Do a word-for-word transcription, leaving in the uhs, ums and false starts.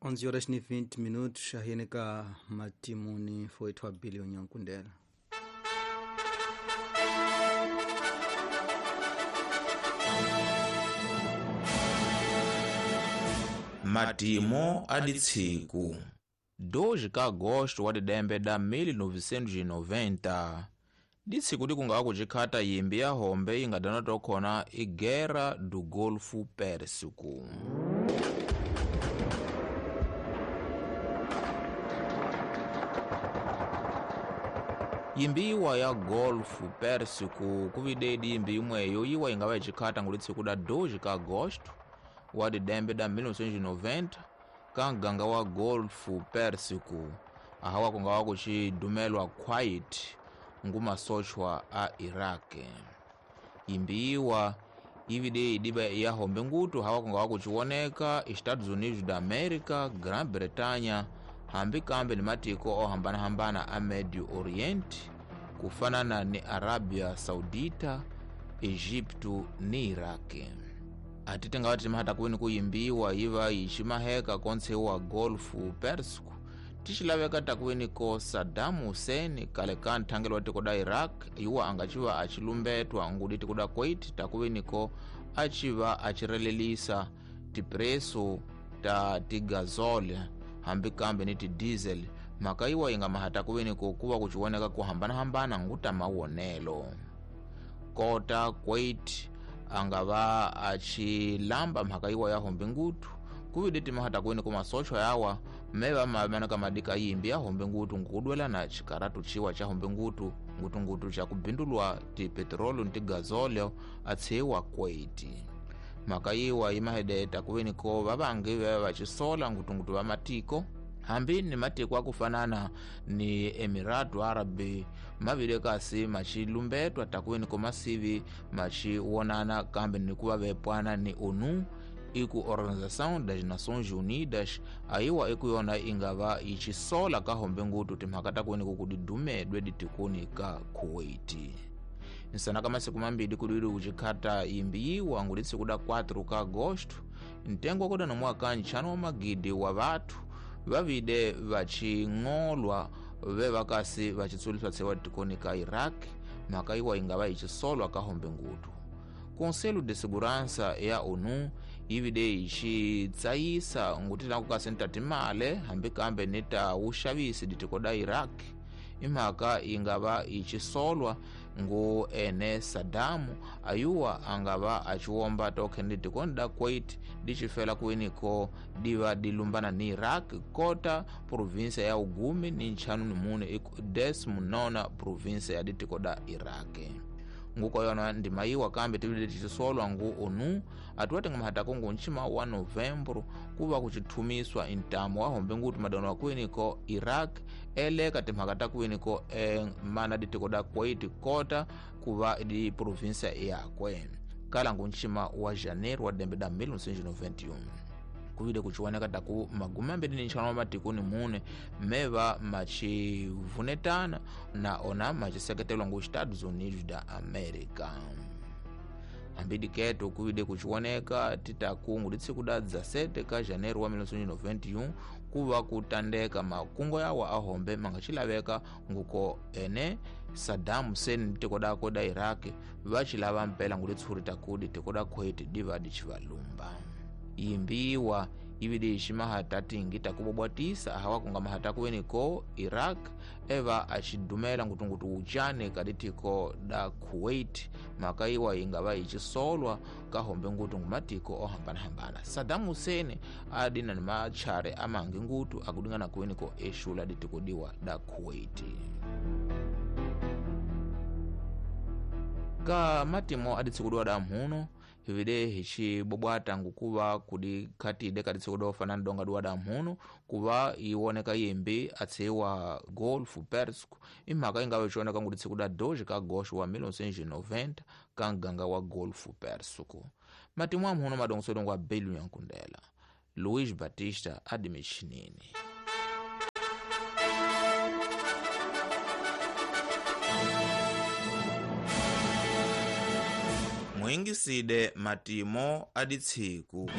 onze horas ni vinte minutos ahiyeneka matimuni foitwa bilioni yankundela. Matimo aditsiku dois ka agosto wa didembe da mil novecentos e noventa ditsiku dikungawa kucikhata yimbi ya hombe ingadana tokhona i Guerra do Golfo Pérsico. Yimbiwa ya Golfo Pérsico kuvidedi yimbi imweyo yiwa ingawa icikhata ngulitsiku da dois ka agosto wa didembe da mil novecentos e noventa ka nganga wa Golfo Pérsico ahawa kungawa kucidumelwa Kuwait ngumasochwa a Iraq. Yimbiwa ivide idiba ya hombe ngutu hawa kungawa kuciwoneka Estados Unidos da América, Grã-Bretanha hambi kambe ni matiko ohambana-hambana a Medio Oriente kufanana ni Arabia Saudita, Egipto ni Iraq. Atite ngawati timahata kuwini kuyimbiwa iva icimaheka kontse wa Golfo Pérsico ticilaveka takuwini ko Saddam Hussein kale ka nthangelo wa tiko da Iraq iwa angaciva acilumbetwa ngudi tiko da Kuwait takuwini ko aciva acirelelisa tipreso ta tigazole hambi kambe ni tidiesel mhaka iwa inga mahata kuwini ko kuva kuciwoneka kuhambanahambana nguta mawonelo. Kota Kuwait angava acilamba mhaka iwa ya hombe ngutu kuvide timahata kuwini ko masochwa yawa meva mamanaka madika yimbi ya hombe ngutu nkudwelana cikaratu ciwa ca hombe ngutu ngutungutu ca kubindulwa ti petrolu ni tigazoleo atsiwa Kuwait. Mhaka iwa imahedeta kuwini ko vavangi veva vacisola ngutungutu va matiko hambi ni matiko akufanana ni Emiratu Arabi mavile kasi macilumbetwa takuwini ko masivi maciwonana kambe ni kuva vepwana ni ONU iku Organização das Nações Unidas aiwa ikuyona ingava icisola ka hombe ngutu timhaka takuwini ko kudidumedwe ditikuni ka Kuwait. Nsana ka masiku mambiri kudwiri kucikhata imbiyiwa ngulitsiku da quatro ka agosto ntengo wakoda na mwaka nchanu wa magidi wa vathu vavide vacing'olwa vevakasi vacitsuliswa tsewa tikoni ka Iraq mhaka iwa ingava icisolwa ka hombe ngutu. Conselho de Segurança ya ONU yivide icitsayisa nguti nakukasi ni timale hambi kambe ni ta wuxavisi ditiko da Iraq imhaka ingava icisolwa ngu ene Saddam ayuwa angava aciwomba tokhe ni tikoni da Kuwait dicifela kuwiniko diva dilumbana ni Iraq kota província ya ugumi ni nchanu ni mune décimo nona província ya ditiko da Iraq. Nguko yona ndima iwa kambe tivile ticisolwa ngu ONU atuwate ngamahata kungu nchima wa novembro kuva kucithumiswa intamo wa hombe ngutu madano wa kuwiniko Iraq eleka timhaka ta kuwiniko e, mana ditiko da Kuwait kota kuva di província yakwe kala ngu nchima wa janeiro wa dembe da mil novecentos e noventa e um. Kuvide kuciwoneka taku magumi ambiri ni nchanu wa matikuni mune meva macivunetana na ona maciseketelwa ngu Estados Unidos da América. Ambidi keto kuvide kuciwoneka titaku ngulitsiku da dezessete ka janeiro wa mil novecentos e noventa e um kuva kutandeka makungo yawa ahombe mangacilaveka nguko ene Saddam Hussein tiko dako da Iraq vacilava mpela ngulitsuri takudi tiko da Kuwait diva dicivalumba. Imbiwa ivide icimahata tingi takubobwatisa ahawa kunga mahata kuweniko Iraq eva acidumela ngutungutu ucane kaditiko da Kuwait mhaka iwa ingava icisolwa kahombe ngutu ngumatiko ohambanahambana. Saddam Hussein adina ni machare amangi ngutu akudingana kuweniko exula ditiko diwa da Kuwait. Ka matimo aditsikudiwa da mhuno hivide hicibobwata ngukuva kudikhatide kaditsikudiwa ofanana donga duwa da mhuno kuva iwoneka yimbi atsiwa Golfo Pérsico imhaka ingava icioneka nguditsikuda dois ka agosto wa mil novecentos e noventa ka nganga wa Golfo Pérsico. Matimu a mhuno madongosolongo wa Belu Yankundela. Luiz Batista adimichinini. Mwingiside matimo aditsiku.